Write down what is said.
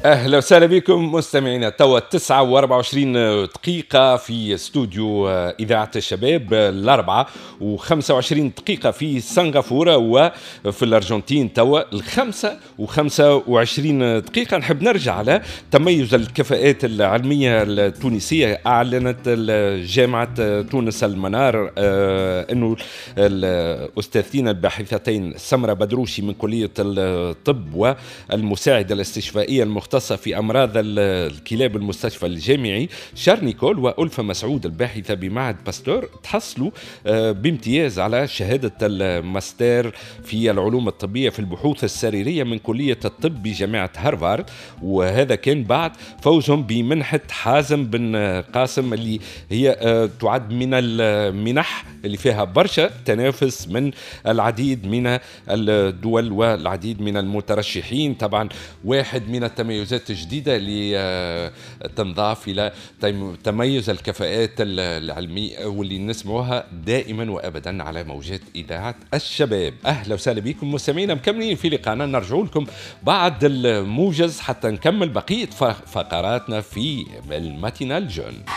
اهلا وسهلا بكم مستمعينا، توا 9 و24 دقيقة في استوديو إذاعة الشباب، 4:25 دقيقة في سنغافورة، وفي الأرجنتين توا 5:25 دقيقة. نحب نرجع على تميز الكفاءات العلمية التونسية. أعلنت جامعة تونس المنار أنه الأستاذتين الباحثتين سمرة بدروشي من كلية الطب والمساعدة الاستشفائية المختصة في أمراض الكلاب المستشفى الجامعي شارل نيكول، وألفة مسعود الباحثة بمعهد باستور، تحصلوا بامتياز على شهادة الماستر في العلوم الطبية في البحوث السريرية من كلية الطب بجامعة هارفارد، وهذا كان بعد فوزهم بمنحة حازم بن قاسم اللي هي تعد من المنح اللي فيها برشا تنافس من العديد من الدول والعديد من المترشحين. طبعا واحد من التميزات الجديدة اللي تنضاف إلى تميز الكفاءات العلمية واللي نسمعوها دائما وأبدا على موجات إذاعة الشباب. أهلا وسهلا بكم مستمعينا، مكملين في لقاءنا، نرجع لكم بعد الموجز حتى نكمل بقية فقراتنا في ال matinale jeune.